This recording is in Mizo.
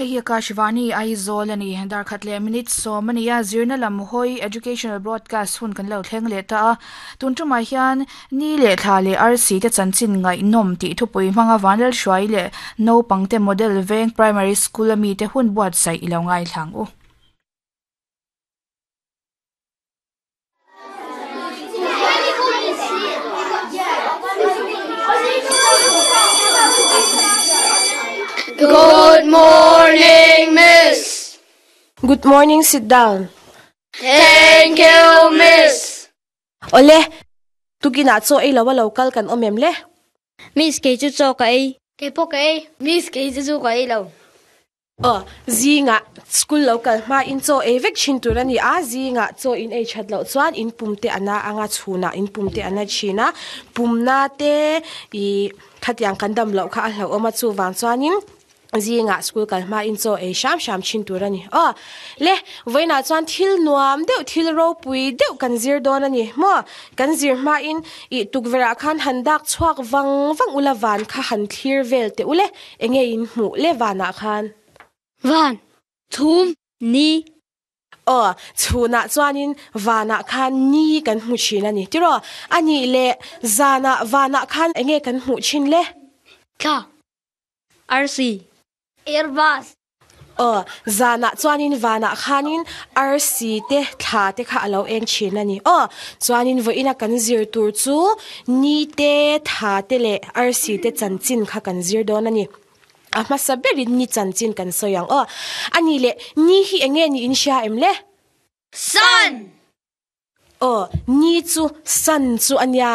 Hei hi Akashvani Aizawl a ni. Darkhat leh minute sawm a ni a, zirna lam hawi Educational Broadcast hun kan lo thleng leh ta a. Tun tumah hian ni leh thla leh arsi te chanchin ngaihnawm tih thupui hmanga Vanlalhruai leh naupangte Model Veng Primary School a mite hun buatsaih i lo ngaithla ang u. Good morning, Miss. Good morning, sit down. Thank you, Miss. Ole, tukinah chaw ei lo a lo kal kan awm em le? Miss, kei chu chaw ka ei. Kei pawh ka ei. Miss, kei chu chu ka ei lo. Aw, zingah school lo kal hma in chaw ei vek thin tur a ni a, zingah chaw in ei that loh chuan in pum te a na anga chhunah in pum te a na thin a, pumna te ih khatiang kan dam loh kha a hlauhawm a, chuvang chuanin zingah school kal hma in chaw ei hram hram thin tur a ni. Aw, le, vawiinah chuan thil nuam deuh, thil ropui deuh kan zir dawn a ni maw? Kan zir hmain ih tukverhah khan han dak chhuak vang vang ula van kha han thlir vel teh ule. Enge in hmuh le vanah khan? Van, thum, ni. Aw, chhunah chuanin vanah khan ni kan hmu thin a ni. Tiraw? A nih leh zanah vanah khan enge kan hmuh thin le? Thla, arsi. Airbus. Aw, zanah chuanin vanah khanin arsi te thla te kha a lo eng thin a ni. Aw, chuanin vawiina kan zir tur chu ni te, tha te leh arsi te chanchin kha kan zir dawn a ni. A hmasa berin ni chanchin kan sawi ang. Aw, a ni leh ni hi eng nge niin hria em le? Sun! Aw, ni chu sun chu a nia.